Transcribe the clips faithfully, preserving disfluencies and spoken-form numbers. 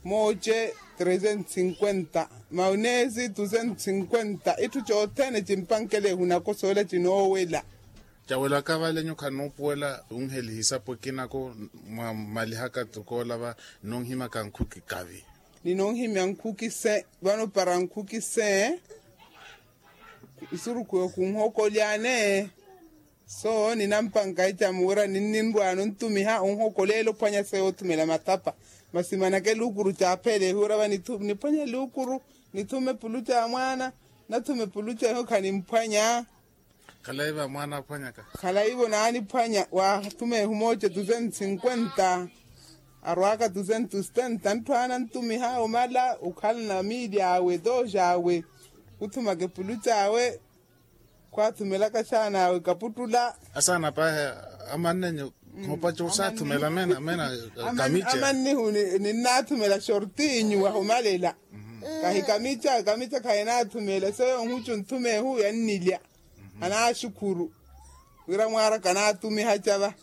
Mooce trezentos cinquenta, maunesi duzentos cinquenta itthu cothene cimpankele ehunakosoola cinoowela. Cawelaka vale nyukha nuupuwela unhelihisapo ekinako mwa malihaka tukoola va. Nunhimyaka nkhuki kavi. Ninunhimya nkhuki se vano para nkhuki se isurukhu yo khunhokolyane. So ninampanka ecamu wira ninninrwaano ntumiha onhokoleela ophwanya seyo othumela mathapa. Masi manake luukuru caapheleehiwe wira va niphwanya luukuru nithume puluca ya mwaana. Nathume puluca eho khanimphwanya. Khalayi va mwaana aphwanyaka. Khalayivo naaniphwanya waathumeehu mooce duzentos cinquenta. Arwaaka duzentos setenta ntthu anantumiha omala okhala na miili awe dooja awe. Khuthumaka epuluca awe. Khwaathumelaka xaana awe kaputtula. Asaana paahi amannenyu. Khopaca osaathumela mena mena kamica. Amannihu ninnaathumela xortinyu wahumalela. Kahi kamica kamica khahinaathumela seyo nhucu nthumeehu yannilya. Anaaxukhuru wira mwaaraka anaathumiha cava.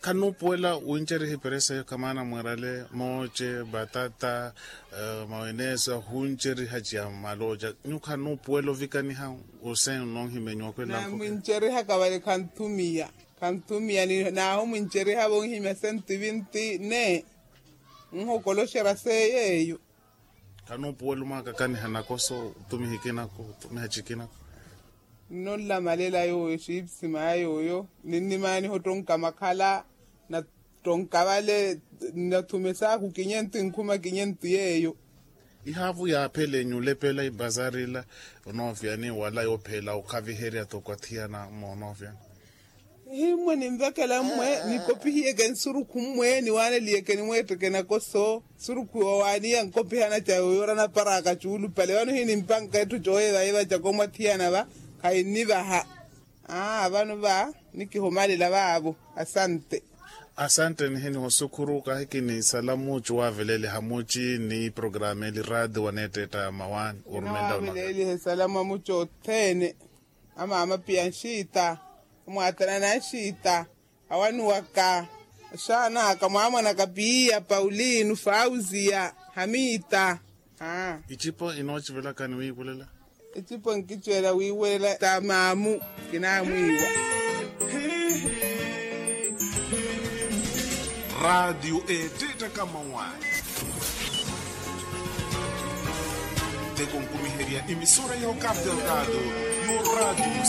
Khannuupuwela wincerihipere seyo khamaana mwiirale mooce batata maweneso ahunceriha ciya malooca. Nyukha nuupuwela ovikaniha osenno onhimenyiwa kwela. Namwincerihaka vale khanthumiya khanthumiya. Naahumwincerihavo onhimya sentivinti ne nhokoloxera seyo eyo. Khanuupuwela omwaakakaniha nakoso otumiha ekinako otumiha cikinako. Nnolamalela yooyo xiipsima ya yooyo ninnimaaniha ottonka makhala. Nattonka vale nnathuma esaaku kinyentu enkhuma kinyentu yeeyo. Ihaavu yaaphele nyulepela ibazari ila onoofyani wala yoopheela okhaviherya toko athiyana moonoofyani. Himmwe ninvekela mmwe nikopihiyeke nsurukhu mmwe niwaaneliyeke nimweetteke nakoso. Nsurukhu yoowaaniya nkopihana ca yooyo ora naparaka cuulupale vano hinimpanka etthu cooyevayevaca komwathiyana va. Khahinnivaha. Aa vano va nikihumalela vaavo. Asante. Asante nihiniho sukhuru kahi kinisalamu cuwaaveleliha muci ni programa eli raadi waneettetta mawaani orumenta. Wavelelihe salamu amuci othene. Amaama piya nxiita. Amwaatana na nxiita. Awanuwaka. Axaanaka mwaamwanaka piya paulino fauziya. Hamita. Icipo inoocivelaka ni wiivulela. Ecipo nkicwela wiiwelela ta maamu. Kinaamwiiwa. Raatiyo eetteettaka mawaani. Nteko nkumiherya emisora ya okapi okapi. Yo raatiyo.